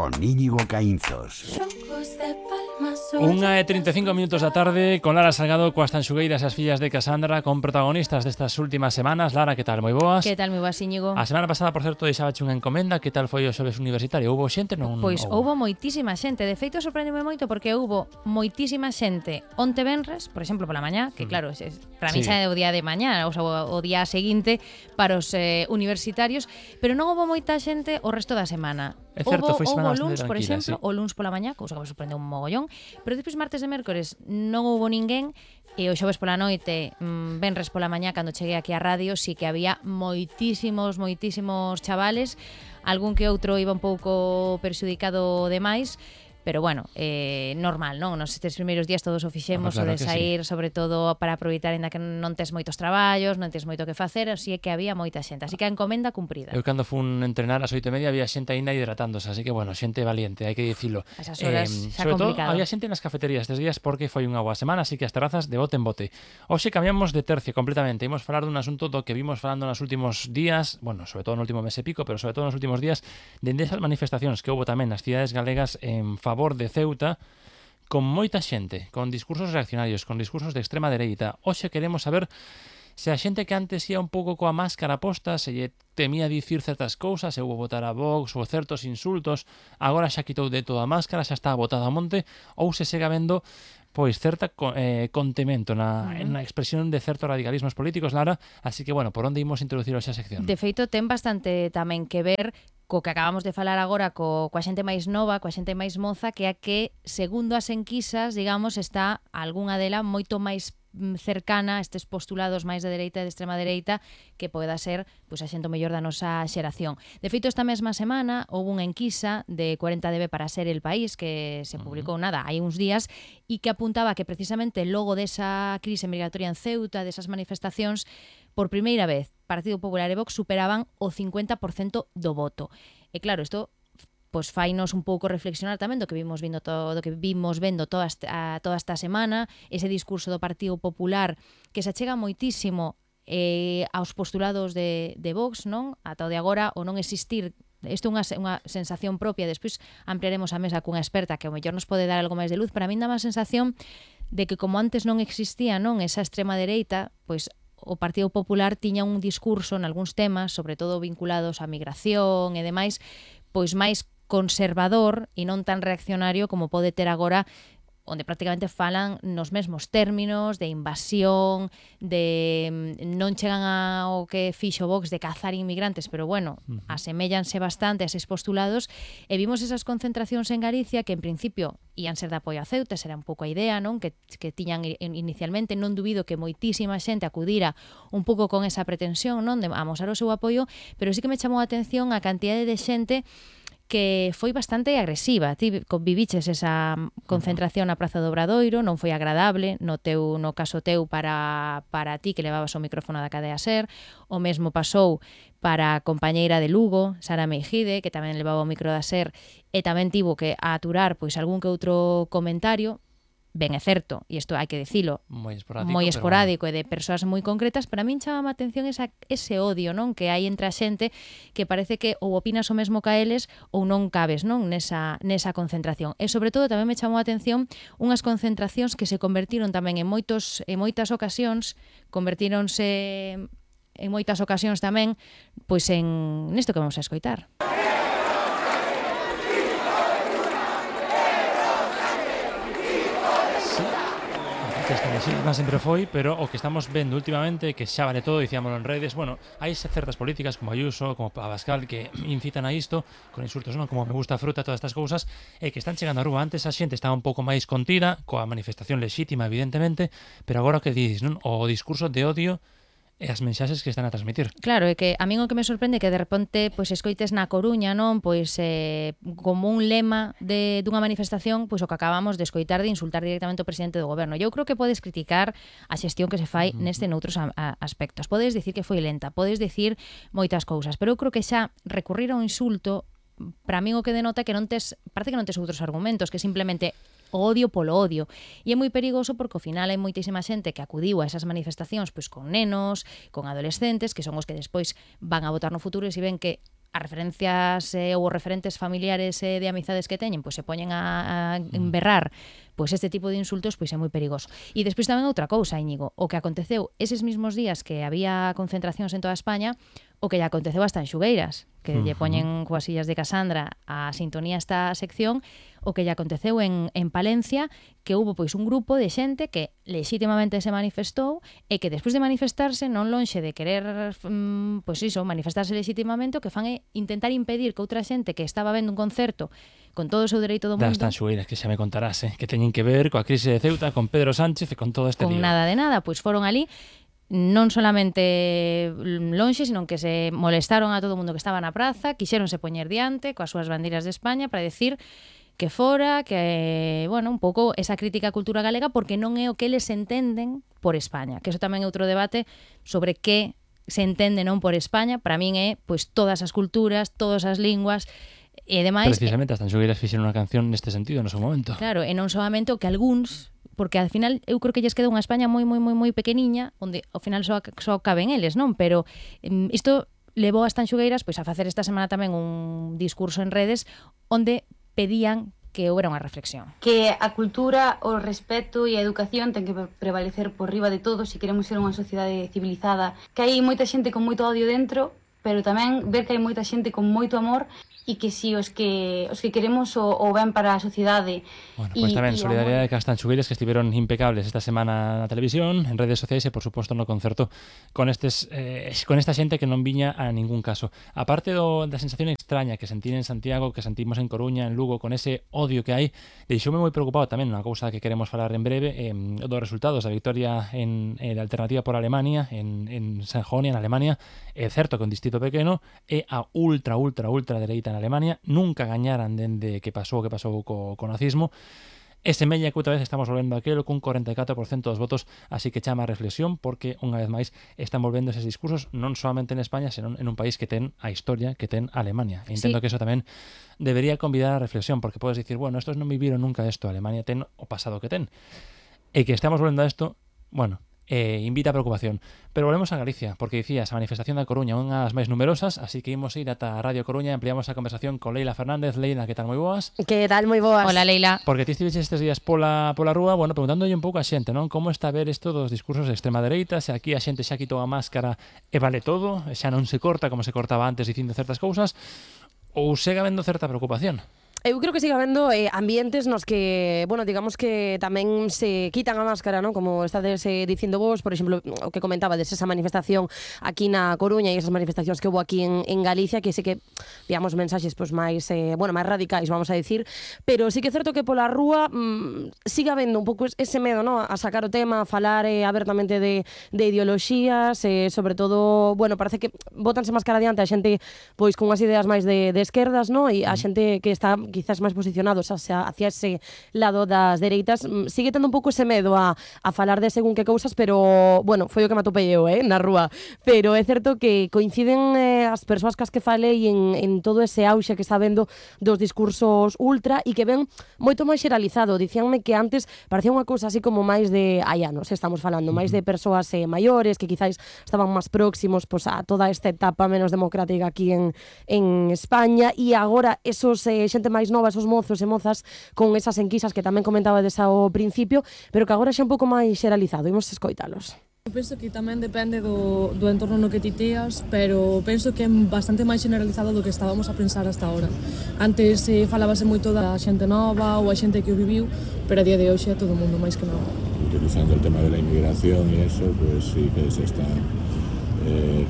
con Íñigo Caínzos. 1:35 da tarde, con Lara Salgado, coas tanxugueiras e as fillas de Casandra, con protagonistas destas últimas semanas. Lara, que tal? Moi boas. Que tal, moi boas, Íñigo? A semana pasada, por certo, deixabache unha encomenda. Que tal foi o xoves universitario? Houbo xente? Non Pois houbo moitísima xente. De feito, sorprendeme moito porque houbo moitísima xente onte venres, por exemplo, pola mañá, que claro, para mí xa é o día de mañá, o sea, o día seguinte para os universitarios, pero non houbo moita xente o resto da semana. É certo, foi semana houbo luns, por tranquila, exemplo, sí. o luns pola mañá, cousa que me sorprendeu un mogollón, pero despois martes e mércores non houbo ninguén, e o xoves pola noite, venres pola mañá, cando cheguei aquí á radio, sí que había moitísimos chavales, algún que outro iba un pouco perxudicado demais, pero bueno, normal, non? Nos estes primeiros días todos o fixemos, claro o de sair, sobre todo para aproveitar ainda que non tes moitos traballos, non tes moito que facer, así é que había moita xente, así que a encomenda cumprida. Eu cando fun entrenar ás 8:30 había xente aínda hidratándose, así que bueno, xente valiente, hai que dicilo. A esas horas xa sobre complicado. todo, había xente nas cafeterías estes días porque foi unha boa semana, así que as terrazas de bote en bote. Hoxe cambiamos de tercio completamente, imos falar dun asunto do que vimos falando nos últimos días, bueno, sobre todo no último mes e pico, pero sobre todo nos últimos días, dende esas manifestacións que houbo tamén nas cidades galegas en favor de Ceuta, con moita xente, con discursos reaccionarios, con discursos de extrema dereita. Hoxe queremos saber se a xente que antes ia un pouco coa máscara posta, se lle temía dicir certas cousas, se houve votar a Vox ou certos insultos, agora xa quitou de toda a máscara, xa está botada a monte, ou se segue vendo pois certa contemento na expresión de certos radicalismos políticos, Lara, así que bueno, por onde imos introducir hoxe a sección? De feito, ten bastante tamén que ver co que acabamos de falar agora coa xente máis nova, coa xente máis moza, que a que, segundo as enquisas, digamos, está algunha dela moito máis cercana a estes postulados máis de dereita e de extrema dereita que poida ser pois, a xente mellor da nosa xeración. De feito, esta mesma semana houve unha enquisa de 40DB para ser el país que se publicou hai uns días e que apuntaba que precisamente logo desa crise migratoria en Ceuta, desas manifestacións, por primeira vez Partido Popular e Vox superaban o 50% do voto. E claro, isto pois fainos un pouco reflexionar tamén do que vimos vendo toda esta semana, ese discurso do Partido Popular que se achega moitísimo aos postulados de Vox, non? Ata o de agora, o non existir. Isto é unha sensación propia, despois ampliaremos a mesa cunha experta que ao mellor nos pode dar algo máis de luz, pero a min dá má sensación de que como antes non existía, non, esa extrema dereita, pois o Partido Popular tiña un discurso en algúns temas, sobre todo vinculados á migración e demais, pois máis conservador e non tan reaccionario como pode ter agora, onde prácticamente falan nos mesmos términos de invasión, de non chegan ao que fixo Vox de cazar inmigrantes, pero bueno, aseméllanse bastante a eses postulados, e vimos esas concentracións en Galicia que en principio ian ser de apoio a Ceuta, será un pouco a idea, non? Que tiñan inicialmente, non dubido que moitísima xente acudira un pouco con esa pretensión, non, de amosar o seu apoio, pero sí que me chamou a atención a cantidade de xente que foi bastante agresiva. Ti viviches esa concentración na Praza do Obradoiro, non foi agradable, no caso teu para ti que levabas o micrófono da cadea SER, o mesmo pasou para a compañeira de Lugo, Sara Meijide, que tamén levaba o micro da SER e tamén tivo que aturar pois algún que outro comentario. Ben, é certo, e isto hai que dicilo, moi esporádico e de persoas moi concretas, pero a min chama a atención ese odio, non, que hai entre a xente, que parece que ou opinas o mesmo que a eles ou non cabes, non, nesa concentración. E sobre todo tamén me chamou a atención unhas concentracións que se convertiron tamén en moitas ocasións, tamén pois en nisto que vamos a escoitar. Sempre foi, pero o que estamos vendo últimamente que xa vale todo, dicíamoslo en redes, bueno, hai certas políticas como Ayuso, como Abascal que incitan a isto con insultos, non, como me gusta a fruta, todas estas cousas, e que están chegando á rúa. Antes a xente estaba un pouco máis contida, coa manifestación lexítima, evidentemente, pero agora o que dices, non, o discurso de odio e as mensaxes que están a transmitir. Claro, é que a min o que me sorprende é que de repente pois escoites na Coruña, non, pois como un lema dunha manifestación, pois o que acabamos de escoitar de insultar directamente o presidente do goberno. Eu creo que podes criticar a xestión que se fai neste noutros aspectos. Podes dicir que foi lenta, podes dicir moitas cousas, pero eu creo que xa recurrir ao insulto, para min o que denota que parece que non tes outros argumentos, que simplemente odio polo odio. E é moi perigoso porque ao final hai moitísima xente que acudiu a esas manifestacións pois con nenos, con adolescentes, que son os que despois van a votar no futuro e se ven que as referencias ou os referentes familiares de amizades que teñen, pois se poñen a berrar pois este tipo de insultos, pois é moi perigoso. E despois tamén outra cousa, Íñigo, o que aconteceu eses mismos días que había concentracións en toda España, o que lle aconteceu ás Tanxugueiras, que lle poñen coas illas de Casandra a sintonía esta sección, o que lle aconteceu en Palencia, que hubo pois un grupo de xente que legítimamente se manifestou e que despois de manifestarse, non lonxe de querer pois iso, manifestarse legítimamente, o que fan é intentar impedir que outra xente que estaba vendo un concerto con todo o seu dereito do mundo, das Tanxugueiras, que xa me contarás, que teñen que ver coa crise de Ceuta, con Pedro Sánchez e con todo este con lío. nada de nada, pois foron ali non solamente lonxe, sino que se molestaron a todo o mundo que estaba na praza, quixéronse poñer diante coas súas bandeiras de España para decir que fora, que, bueno, un pouco esa crítica á cultura galega, porque non é o que eles entenden por España, que eso tamén é outro debate sobre que se entende non por España. Para min é, pois, todas as culturas, todas as linguas, e demais. Precisamente, as Tanxugueiras fixeron unha canción neste sentido no seu momento. Claro, e non solamente o que algúns, porque al final eu creo que lles queda unha España moi pequeniña, onde ao final só caben eles, non? Pero isto levou as Tanxugueiras pois a facer esta semana tamén un discurso en redes onde pedían que houbera unha reflexión. Que a cultura, o respeto e a educación ten que prevalecer por riba de todo se queremos ser unha sociedade civilizada. Que hai moita xente con moito odio dentro, pero tamén ver que hai moita xente con moito amor e que si os que queremos o ben para a sociedade. Bueno, pois tamén solidaridade cas Tanxugueiras, que estiveron impecables esta semana na televisión, en redes sociais e por suposto no concerto con esta xente que non viña a ningún caso. A parte da sensación extraña que sentín en Santiago, que sentimos en Coruña, en Lugo, con ese odio que hai, deixoume moi preocupado tamén unha cousa que queremos falar en breve, dos resultados da victoria en la alternativa por Alemania, en Sajonia, en Alemania. É certo que un distrito pequeno, é a ultra dereita en Alemania, nunca gañaran dende que pasou co nazismo, e semella que outra vez estamos volvendo aquelo cun 44% dos votos, así que chama a reflexión, porque unha vez máis están volvendo eses discursos non solamente en España, senón en un país que ten a historia que ten Alemania. E entendo que eso tamén debería convidar a reflexión, porque podes dicir, bueno, estos non viviron nunca isto, Alemania ten o pasado que ten, e que estamos volvendo a isto, bueno, invita a preocupación. Pero volvemos a Galicia, porque dicías, a manifestación da Coruña unha das máis numerosas, así que imos ir ata a Radio Coruña e ampliamos a conversación con Leila Fernández. Leila, que tal, moi boas? Que tal, moi boas? Hola, Leila. Porque ti estiveches estes días pola rúa, bueno, preguntándolle un pouco a xente, non? Como está a ver isto dos discursos de extrema dereita, se aquí a xente xa quitou a máscara e vale todo, xa non se corta como se cortaba antes dicindo certas cousas, ou segue habendo certa preocupación? Eu creo que sigue habendo ambientes nos que, bueno, digamos que tamén se quitan a máscara, ¿no? Como estades dicindo vos, por exemplo, o que comentaba esa manifestación aquí na Coruña e esas manifestacións que houve aquí en Galicia, que sí que, digamos, mensaxes pues, máis radicais, vamos a decir, pero sí que é certo que pola rúa sigue habendo un pouco ese medo, ¿no? A sacar o tema, a falar abertamente de ideoloxías, sobre todo, bueno, parece que bótanse máis cara adiante a xente pois con unhas ideas máis de esquerdas, ¿no? E a xente que está quizás máis posicionados hacia ese lado das dereitas, sigue tendo un pouco ese medo a falar de según que cousas, pero, bueno, foi o que me atopei eu, na rúa. Pero é certo que coinciden as persoas cas que falei en todo ese auxe que está vendo dos discursos ultra e que ven moito máis xeralizado. Dicíanme que antes parecía unha cousa así como máis de hai anos, estamos falando, máis de persoas maiores que quizás estaban máis próximos pues, a toda esta etapa menos democrática aquí en España, e agora esos xente máis nova, esos mozos e mozas con esas enquisas que tamén comentaba ao principio, pero que agora xa un pouco máis xeralizado. Imos escoitalos. Eu penso que tamén depende do entorno no que ti teas, pero penso que é bastante máis generalizado do que estábamos a pensar hasta ahora. Antes falábase moito da xente nova ou a xente que o viviu, pero a día de hoxe é todo o mundo máis que nova. Utilizando el tema de la inmigración y eso, pues sí que se está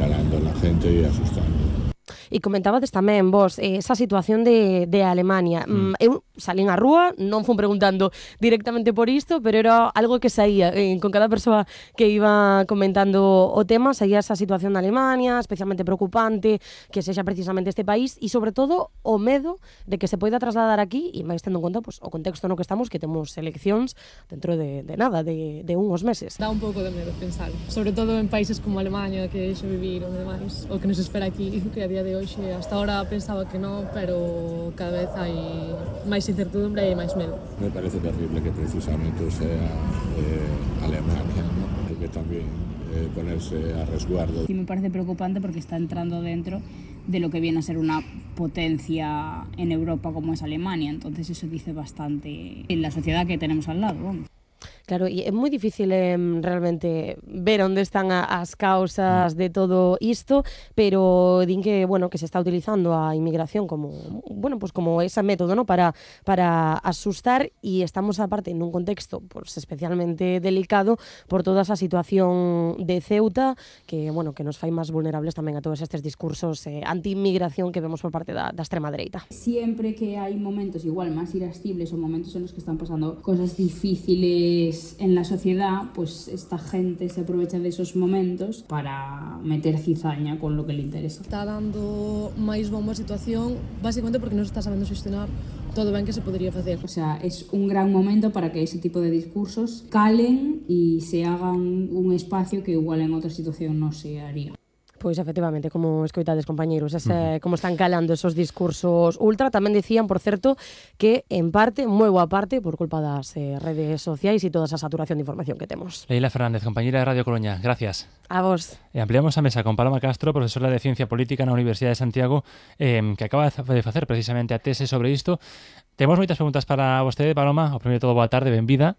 calando en la gente y asustando. E comentabades tamén vos esa situación de Alemania. Eu salín á rúa, non fun preguntando directamente por isto, pero era algo que saía con cada persoa que iba comentando o tema, saía esa situación de Alemania, especialmente preocupante, que sexa precisamente este país, e sobre todo o medo de que se poida trasladar aquí, e máis tendo en conta pues, o contexto no que estamos, que temos eleccións dentro de nada, de unhos meses. Dá un pouco de medo pensar, sobre todo en países como Alemania, que xa viviron e demais, o que nos espera aquí, que a día de hoxe hasta ahora pensaba que non, pero cada vez hai máis incertidumbre e máis medo. Me parece terrible que precisamente sea Alemania, ¿no? Hay que también ponerse a resguardo. Sí, me parece preocupante porque está entrando dentro de lo que viene a ser una potencia en Europa como es Alemania. Entonces eso dice bastante en la sociedad que tenemos al lado, vamos. Claro, e é moi difícil realmente ver onde están as causas de todo isto, pero din que, bueno, que se está utilizando a inmigración como, bueno, pues como ese método, ¿no? para asustar, e estamos aparte nun contexto pues especialmente delicado por toda esa situación de Ceuta que, bueno, que nos fai máis vulnerables tamén a todos estes discursos anti-inmigración que vemos por parte da extrema dereita. Siempre que hay momentos igual más irascibles o momentos en los que están pasando cosas difíciles en la sociedad, pues esta gente se aprovecha de esos momentos para meter cizaña con lo que le interesa. Está dando máis bomba a situación, básicamente porque non se está sabendo xestionar todo ben que se podría facer. O sea, es un gran momento para que ese tipo de discursos calen y se hagan un espacio que igual en otra situación no se haría. Pois efectivamente, como escoitades compañeiros, como están calando esos discursos ultra. Tamén decían, por certo, que en parte, moi boa parte, por culpa das redes sociais e toda esa saturación de información que temos. Leila Fernández, compañera de Radio Coruña, gracias. A vos. Ampliamos a mesa con Paloma Castro, profesora de Ciencia Política na Universidade de Santiago, que acaba de facer precisamente a tese sobre isto. Temos moitas preguntas para vostede, Paloma. O primeiro de todo, boa tarde, benvida.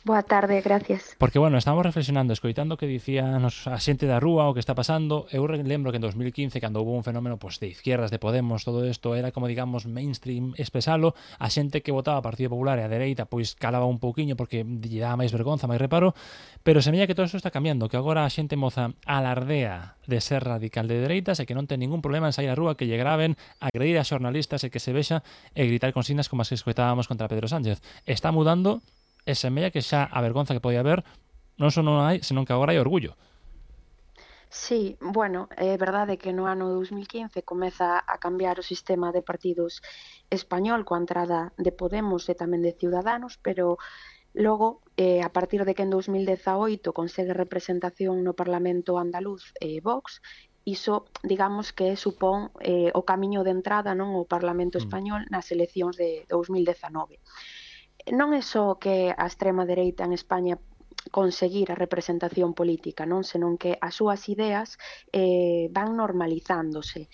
Boa tarde, gracias. Porque, bueno, estamos reflexionando, escoitando o que dicían a xente da rúa, o que está pasando. Eu lembro que en 2015, cando houve un fenómeno pues, de izquierdas, de Podemos, todo isto, era como, digamos, mainstream expresalo. A xente que votaba Partido Popular e a dereita, pois calaba un pouquiño porque lle daba máis vergonza, máis reparo. Pero semella que todo isto está cambiando, que agora a xente moza alardea de ser radical de dereitas e que non ten ningún problema en sair á rúa, que lle graven, agredir a xornalistas e que se vexa e gritar consignas como as que escoitábamos contra Pedro Sánchez. Está mudando e semella que xa a vergonza que podía haber non só non hai, senón que agora hai orgullo. Sí, bueno, é verdade que no ano 2015 comeza a cambiar o sistema de partidos español coa entrada de Podemos e tamén de Ciudadanos, pero logo, a partir de que en 2018 consegue representación no Parlamento andaluz Vox, iso, digamos que supón o camiño de entrada non ao Parlamento español nas eleccións de 2019. Non é só que a extrema dereita en España conseguir a representación política, non, senón que as súas ideas van normalizándose,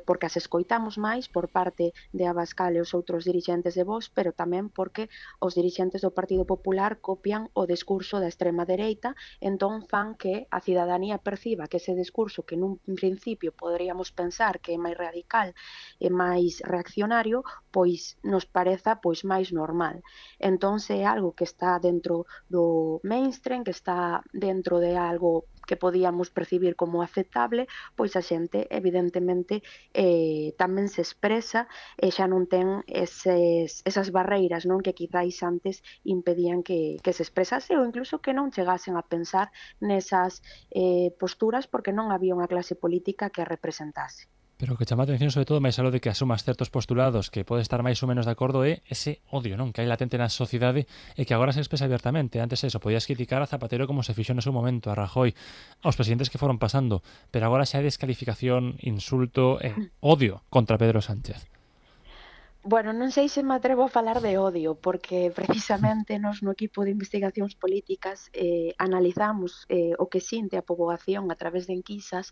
porque as escoitamos máis por parte de Abascal e os outros dirixentes de Vox, pero tamén porque os dirixentes do Partido Popular copian o discurso da extrema dereita, entón fan que a cidadanía perciba que ese discurso que nun principio poderíamos pensar que é máis radical e máis reaccionario, pois nos pareza pois máis normal. Entón é algo que está dentro do mainstream, que está dentro de algo que podíamos percibir como aceptable, pois a xente evidentemente tamén se expresa e xa non ten esas barreiras, non, que quizáis antes impedían que se expresase ou incluso que non chegasen a pensar nesas posturas porque non había unha clase política que a representase. Pero o que chama a atención, sobre todo, máis aló de que asumas certos postulados que pode estar máis ou menos de acordo, é ese odio, non, que hai latente na sociedade e que agora se expresa abiertamente. Antes eso, podías criticar a Zapatero como se fixo no seu momento, a Rajoy, aos presidentes que foron pasando, pero agora xa hai descalificación, insulto e odio contra Pedro Sánchez. Bueno, non sei se me atrevo a falar de odio, porque precisamente nos no equipo de investigacións políticas analizamos o que sinte a poboación a través de enquisas.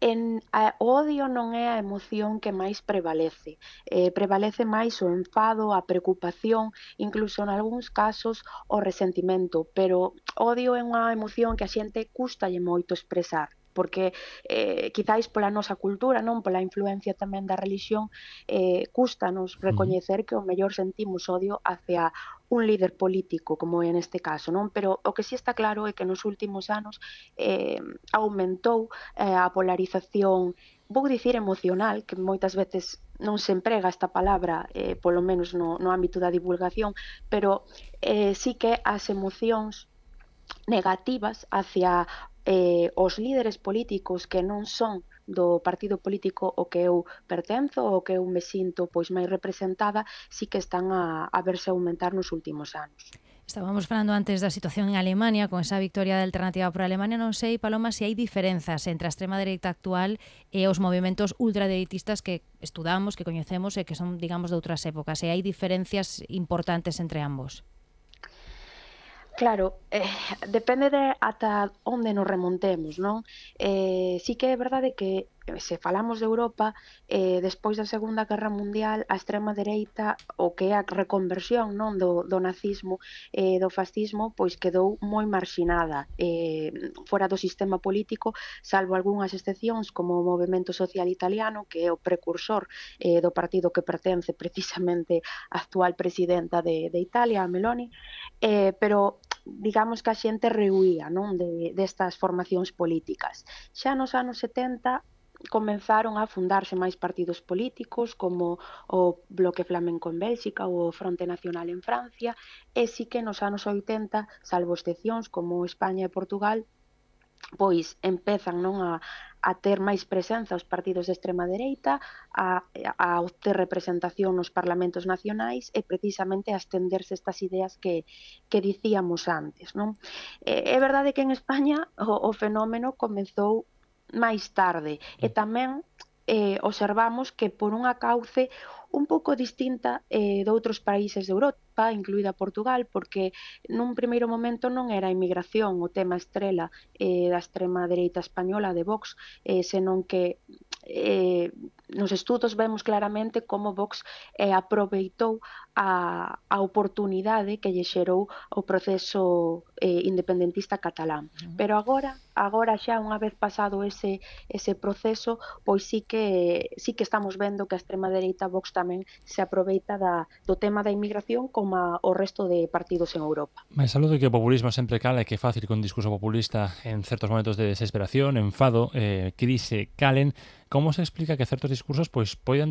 O odio non é a emoción que máis prevalece. Prevalece máis o enfado, a preocupación, incluso en algúns casos o resentimento, pero odio é unha emoción que a xente custalle moito expresar, porque quizáis pola nosa cultura, non, pola influencia tamén da religión, custanos recoñecer que o mellor sentimos odio hacia un líder político, como é neste caso, non? Pero o que si está claro é que nos últimos anos aumentou a polarización, vou dicir emocional, que moitas veces non se emprega esta palabra, polo menos no ámbito da divulgación, pero sí que as emocións negativas hacia os líderes políticos que non son do partido político o que eu pertenzo ou que eu me sinto pois máis representada, sí que están a verse aumentar nos últimos anos. Estábamos falando antes da situación en Alemania, con esa victoria da Alternativa por Alemania. Non sei, Paloma, se hai diferenzas entre a extrema dereita actual e os movimentos ultradereitistas que estudamos, que coñecemos e que son, digamos, de outras épocas. Se hai diferencias importantes entre ambos. Claro, depende de ata onde nos remontemos, non? Sí que é verdade que se falamos de Europa, despois da Segunda Guerra Mundial, a extrema dereita, o que é a reconversión, non, do nazismo e do fascismo, pois quedou moi marxinada fora do sistema político, salvo algunhas excepcións como o Movemento Social Italiano, que é o precursor do partido que pertence precisamente a actual presidenta de Italia, a Meloni, pero digamos que a xente rehuía, non, destas formacións políticas. Xa nos anos 70 comenzaron a fundarse máis partidos políticos como o Bloque Flamenco en Bélxica ou o Fronte Nacional en Francia, e sí que nos anos 80, salvo excepcións como España e Portugal, pois empezan, non, a ter máis presenza os partidos de extrema dereita, a obter representación nos parlamentos nacionais e precisamente a estenderse estas ideas que dicíamos antes, non? É verdade que en España o fenómeno comezou máis tarde e tamén observamos que por unha cauce un pouco distinta de outros países de Europa, incluída Portugal, porque nun primeiro momento non era a inmigración o tema estrela da extrema dereita española de Vox, senón que nos estudos vemos claramente como Vox aproveitou a oportunidade que lle xerou o proceso independentista catalán. Pero agora xa unha vez pasado ese proceso, pois sí que estamos vendo que a extrema dereita Vox tamén se aproveita do tema da inmigración como o resto de partidos en Europa. Me saludo que o populismo sempre cala e que é fácil que un discurso populista en certos momentos de desesperación, enfado, crise, calen. Como se explica que certos discursos pois poden